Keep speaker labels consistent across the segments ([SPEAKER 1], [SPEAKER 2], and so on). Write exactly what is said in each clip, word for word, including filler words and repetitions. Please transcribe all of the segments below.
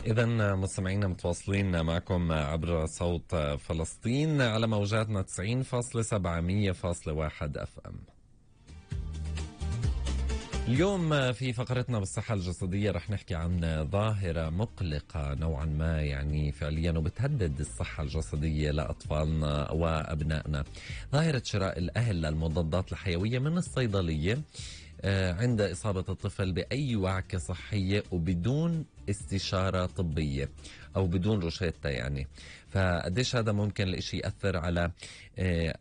[SPEAKER 1] إذا مستمعينا متواصلين معكم عبر صوت فلسطين على موجاتنا تسعين فاصلة سبعة مية فاصلة واحد اف ام. اليوم في فقرتنا بالصحة الجسدية رح نحكي عن ظاهرة مقلقة نوعا ما، يعني فعليا وبتهدد الصحة الجسدية لأطفالنا وأبنائنا. ظاهرة شراء الأهل للمضادات الحيوية من الصيدلية عند إصابة الطفل بأي وعكة صحية وبدون استشارة طبية أو بدون روشتة يعني. فقديش هذا ممكن الإشي يأثر على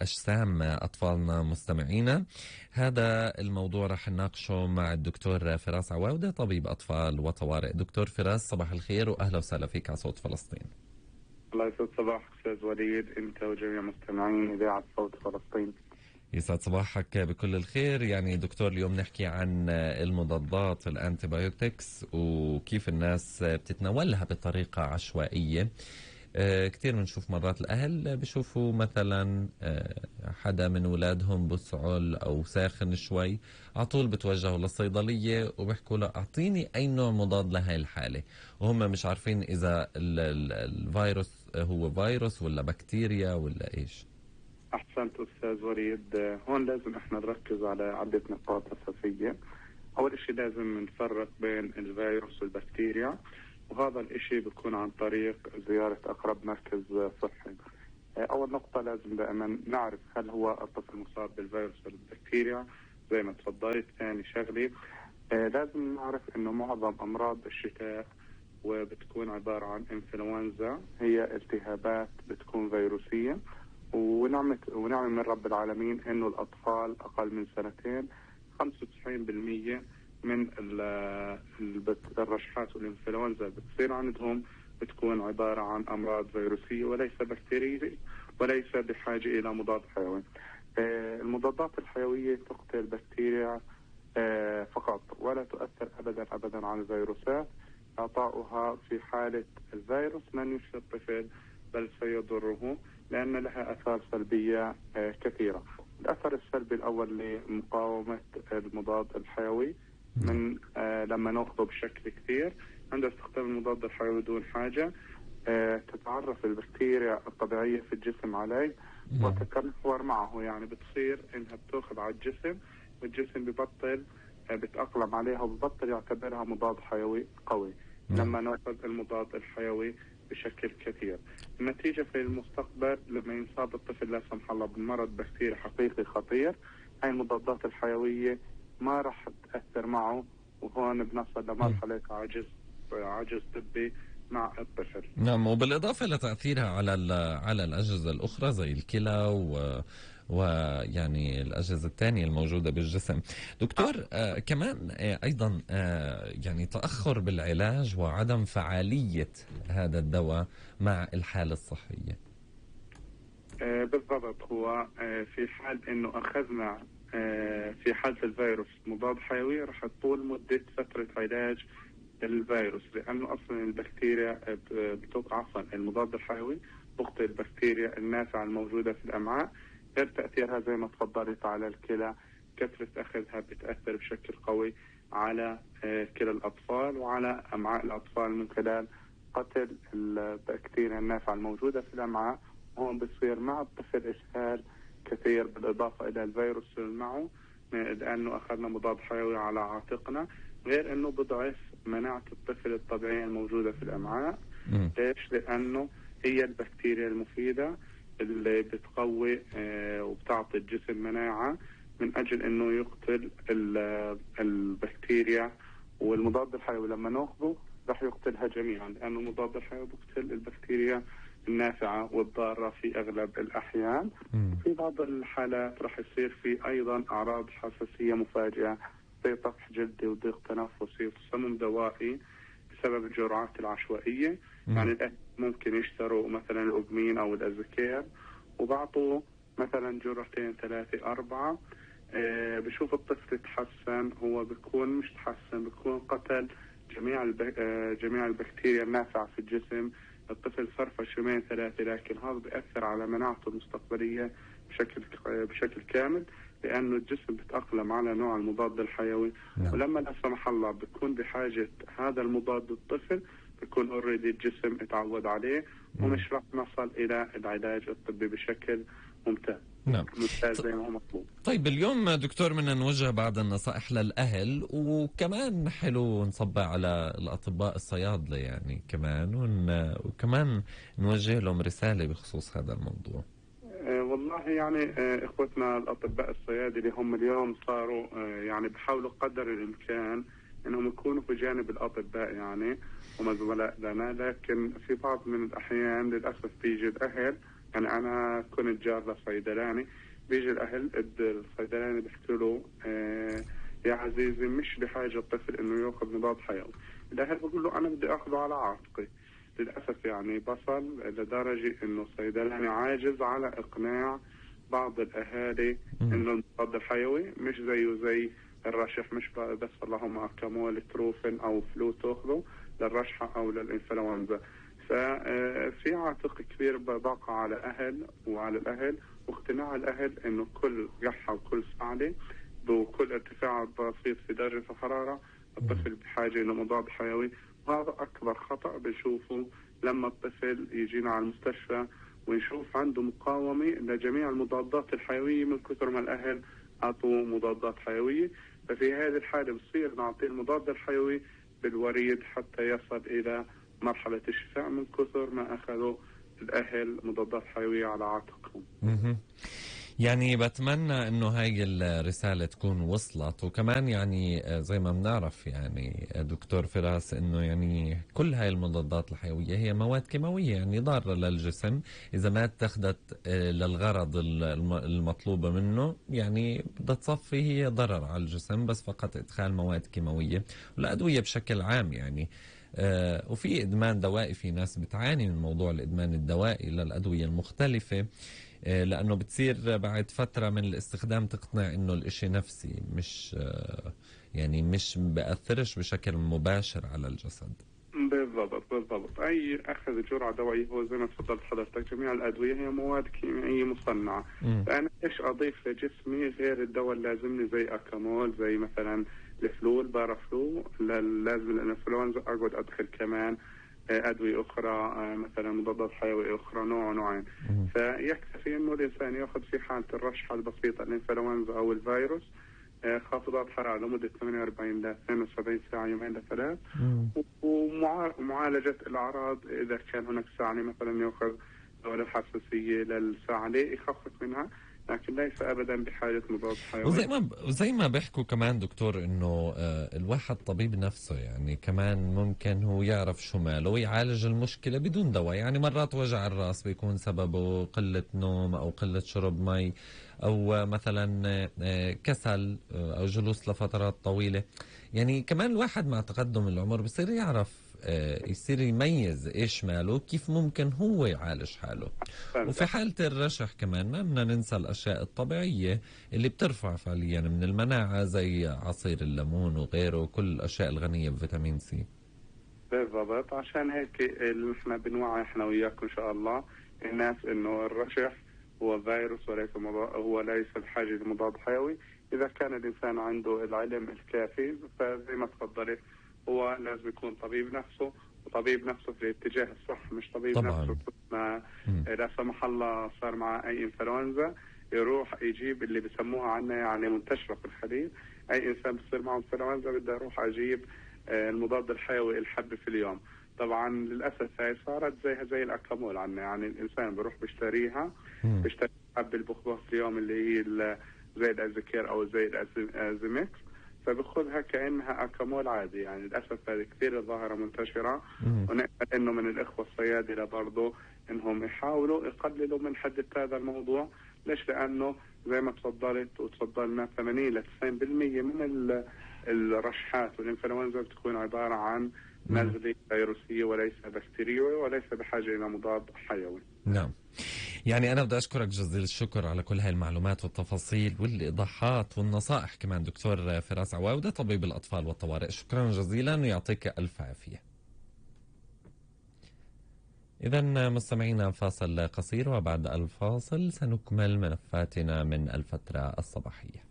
[SPEAKER 1] أجسام أطفالنا مستمعينا؟ هذا الموضوع رح نناقشه مع الدكتور فراس عواودة، طبيب أطفال وطوارئ. دكتور فراس، صباح الخير وأهلا وسهلا فيك على صوت فلسطين.
[SPEAKER 2] الله يسعد صباحك أستاذ وليد، أنت وجميع مستمعين إذاعة صوت فلسطين.
[SPEAKER 1] يسعد صباحك بكل الخير. يعني دكتور، اليوم نحكي عن المضادات الانتيبيوتكس وكيف الناس بتتناولها بطريقة عشوائية. أه كتير بنشوف مرات الأهل بشوفوا مثلا أه حدا من أولادهم بسعل أو ساخن شوي، على طول بتوجهوا للصيدلية وبيحكوا له أعطيني أي نوع مضاد لهاي الحالة، وهم مش عارفين إذا ال ال الفيروس هو فيروس ولا بكتيريا ولا إيش.
[SPEAKER 2] أحسنت أستاذ وليد، هون لازم إحنا نركز على عدة نقاط أساسية. أول شيء لازم نفرق بين الفيروس والبكتيريا، وهذا الإشي بيكون عن طريق زيارة أقرب مركز صحي. أول نقطة لازم دائما نعرف هل هو الطفل مصاب بالفيروس ولا البكتيريا زي ما تفضلت. ثاني شغلة لازم نعرف إنه معظم أمراض الشتاء وبتكون عبارة عن إنفلونزا، هي التهابات بتكون فيروسية، ونعمة ونعمة من رب العالمين إنه الأطفال أقل من سنتين خمسة وتسعين بالمية من الرشحات والإنفلونزا بتصير عندهم بتكون عبارة عن أمراض فيروسية وليس بكتيرية، وليس بحاجة إلى مضاد حيوي. آه المضادات الحيوية تقتل البكتيريا آه فقط، ولا تؤثر أبدا أبدا على الفيروسات. إعطاؤها في حالة الفيروس لن يشفي الطفل بل سيضره، لأن لها أثار سلبية آه كثيرة. الأثر السلبي الأول لمقاومة المضاد الحيوي من آه لما نأخذه بشكل كثير. عند استخدام المضاد الحيوي دون حاجة آه تتعرف البكتيريا الطبيعية في الجسم عليه وتتمحور معه، يعني بتصير إنها بتأخذ على الجسم والجسم ببطل آه بتأقلم عليها وببطل يعتبرها مضاد حيوي قوي لما نأخذ المضاد الحيوي بشكل كثير. النتيجة في المستقبل لما ينصاب الطفل لا سمح الله بمرض بكتيري حقيقي خطير، هاي المضادات الحيوية ما راح تأثر معه، وهون بنصل لمرحلة عجز عجز طبي مع الطفل.
[SPEAKER 1] نعم، وبالإضافة لتأثيرها على على الأجهزة الأخرى زي الكلى و ويعني الأجهزة الثانية الموجودة بالجسم. دكتور، آه كمان آه أيضا آه يعني تأخر بالعلاج وعدم فعالية هذا الدواء مع الحالة الصحية.
[SPEAKER 2] آه بالضبط، هو آه في حال إنه أخذنا آه في حالة الفيروس مضاد حيوي راح تطول مدة فترة علاج الفيروس، لأنه أصلا البكتيريا بتوقع عفوا المضاد الحيوي بقتل البكتيريا النافعة الموجودة في الأمعاء. غير تأثيرها زي ما تفضلت على الكلى، كثرة أخذها بتأثر بشكل قوي على كلى الأطفال وعلى أمعاء الأطفال من خلال قتل البكتيريا النافعة الموجودة في الأمعاء. هون بصير مع الطفل إسهال كثير، بالإضافة إلى الفيروس معه لأنه أخذنا مضاد حيوي على عاتقنا، غير أنه بضعف مناعة الطفل الطبيعية الموجودة في الأمعاء. ليش؟ لأنه هي البكتيريا المفيدة اللي بتقوي آه وبتعطي الجسم مناعة من أجل أنه يقتل البكتيريا، والمضاد الحيوي لما نأخذه رح يقتلها جميعا، لأنه المضاد الحيوي بيقتل البكتيريا النافعة والضارة في أغلب الأحيان. في بعض الحالات رح يصير في أيضا أعراض حساسية مفاجئة زي طفح جلدي وضيق تنفسي وتصمم دوائي بسبب الجرعات العشوائية. مم. يعني الأهل ممكن يشتروا مثلا الأوبمين أو الأزكير وبعطوا مثلا جرعتين ثلاثة أربعة، آه بشوف الطفل يتحسن، هو بيكون مش تحسن، بيكون قتل جميع الب... آه جميع البكتيريا النافعة في الجسم. الطفل فرفش يومين ثلاثة، لكن هذا بيأثر على مناعته المستقبلية بشكل بشكل كامل. لأنه الجسم بيتأقلم على نوع المضاد الحيوي.
[SPEAKER 1] نعم.
[SPEAKER 2] ولما لا سمح الله بيكون بحاجة هذا المضاد الطفل بيكون اوريدي الجسم اتعود عليه ومش راح نصل إلى العلاج الطبي بشكل ممتاز.
[SPEAKER 1] نعم.
[SPEAKER 2] ممتاز زي ما هو مطلوب.
[SPEAKER 1] طيب اليوم دكتور بدنا نوجه بعض النصائح للأهل، وكمان حلو نصبع على الأطباء الصيادلة يعني كمان، ون... وكمان نوجه لهم رسالة بخصوص هذا الموضوع.
[SPEAKER 2] أه والله يعني أه إخوتنا الأطباء الصيادلة هم اليوم صاروا أه يعني بحاولوا قدر الإمكان إنهم يكونوا في جانب الأطباء يعني هم زملاء لنا، لكن في بعض من الأحيان للأسف بيجي الأهل، يعني أنا كنت جار لصيدلاني، بيجي الأهل الصيدلاني بيحكوا له آه يا عزيزي مش بحاجة الطفل إنه يأخذ مضاد حيوي. الأهل بيقول له أنا بدي أخذه على عاتقي. للأسف يعني بصل لدرجة إنه الصيدلاني عاجز على إقناع بعض الأهالي إنه المضاد الحيوي مش زيه زي الرشح، مش بس اللهم أكامول تروفين أو فلو تأخذه للرشحة أو للإنفلونزا. ففي عاتق كبير بقى على أهل وعلى الأهل واقتناع الأهل إنه كل قحة وكل صعلة وكل ارتفاع بسيط في درجة الحرارة الطفل بحاجة إلى مضاد حيوي. وهذا أكبر خطأ بنشوفه لما الطفل يجينا على المستشفى ونشوف عنده مقاومة لجميع المضادات الحيوية من كثر ما الأهل أعطوا مضادات حيوية. ففي هذه الحالة بصير نعطيه المضاد الحيوي بالوريد حتى يصل إلى مرحلة الشفاء من كثر ما أخذوا الأهل مضادات حيوية على عاتقهم.
[SPEAKER 1] يعني بتمنى انه هاي الرسالة تكون وصلت. وكمان يعني زي ما بنعرف يعني دكتور فراس انه يعني كل هاي المضادات الحيوية هي مواد كيماوية يعني ضارة للجسم اذا ما اتخذت للغرض المطلوبة منه، يعني بدها تصفي هي ضرر على الجسم بس فقط ادخال مواد كيماوية والادوية بشكل عام يعني. آه وفي ادمان دوائي، في ناس بتعاني من موضوع الادمان الدوائي للادوية المختلفة لأنه بتصير بعد فترة من الاستخدام تقتنع إنه الإشي نفسي مش يعني مش بأثرش بشكل مباشر على الجسد.
[SPEAKER 2] بالضبط بالضبط. أي أخذ جرعة دوائية هو زي ما تفضلت حضرتك جميع الأدوية هي مواد كيميائية مصنعة. م. فأنا إيش أضيف لجسمي غير الدواء اللازمني زي أكامول زي مثلا الفلو البارافلو لازم الإنفلونزا أقعد أدخل كمان أدوية أخرى مثلا مضادات حيوية أخرى نوع نوعين. فيكفي إنه الإنسان يأخذ في حالة الرشحة البسيطة الإنفلونزا أو الفيروس خافضات حرارة لمدة ثمانية وأربعين ل اثنين وسبعين ساعة يومين لثلاث، ومعالجة الأعراض إذا كان هناك سعلة مثلا يأخذ دواء الحساسية للسعلة يخفف منها، لكن ليس ابدا بحاجه مضاد حيوي.
[SPEAKER 1] وزي ما وزي ما بيحكوا كمان دكتور انه الواحد طبيب نفسه يعني كمان ممكن هو يعرف شو ماله ويعالج المشكله بدون دواء. يعني مرات وجع الراس بيكون سببه قله نوم او قله شرب مي او مثلا كسل او جلوس لفترات طويله. يعني كمان الواحد مع تقدم العمر بصير يعرف يصير يميز ايش ماله كيف ممكن هو يعالج حاله. وفي حالة الرشح كمان ما بدنا ننسى الاشياء الطبيعية اللي بترفع فعليا من المناعة زي عصير الليمون وغيره وكل الاشياء الغنية بفيتامين سي.
[SPEAKER 2] بالضبط. عشان هيك احنا بنوعي احنا وياكم ان شاء الله الناس انه الرشح هو فيروس وليس مضاد، هو ليس بحاجة لمضاد حيوي. اذا كان الانسان عنده العلم الكافي فزي ما تفضلت هو لازم يكون طبيب نفسه، وطبيب نفسه في الاتجاه الصح، مش طبيب طبعاً. نفسه ما لا سمح الله صار مع اي انفلونزا يروح يجيب اللي بسموها عنا يعني منتشرة في الحديث، اي انسان بصير معه انفلونزا بدي اروح اجيب المضاد الحيوي الحب في اليوم. طبعا للاسف هاي صارت زيها زي الاكامول عنا، يعني الانسان بيروح بيشتريها بيشتري حب البخبخ في اليوم اللي هي زي الازيكير او زي الازيمكس فبخذها كأنها أكامول عادي. يعني للأسف هذه كثير ظاهرة منتشرة، ونأمل إنه من الإخوة الصيادلة برضو إنهم يحاولوا يقللوا من حدة هذا الموضوع. ليش؟ لأنه زي ما تفضلت وتفضلنا ثمانين إلى تسعين بالمئة من الرشحات والإنفلونزا بتكون عبارة عن نزلة فيروسية وليس بكتيريوي وليس بحاجة إلى مضاد حيوي.
[SPEAKER 1] نعم. يعني أنا بدي أشكرك جزيل الشكر على كل هاي المعلومات والتفاصيل والإيضاحات والنصائح كمان دكتور فراس عواودة طبيب الأطفال والطوارئ. شكرا جزيلا ويعطيك ألف عافية. إذا مستمعينا فاصل قصير، وبعد الفاصل سنكمل ملفاتنا من الفترة الصباحية.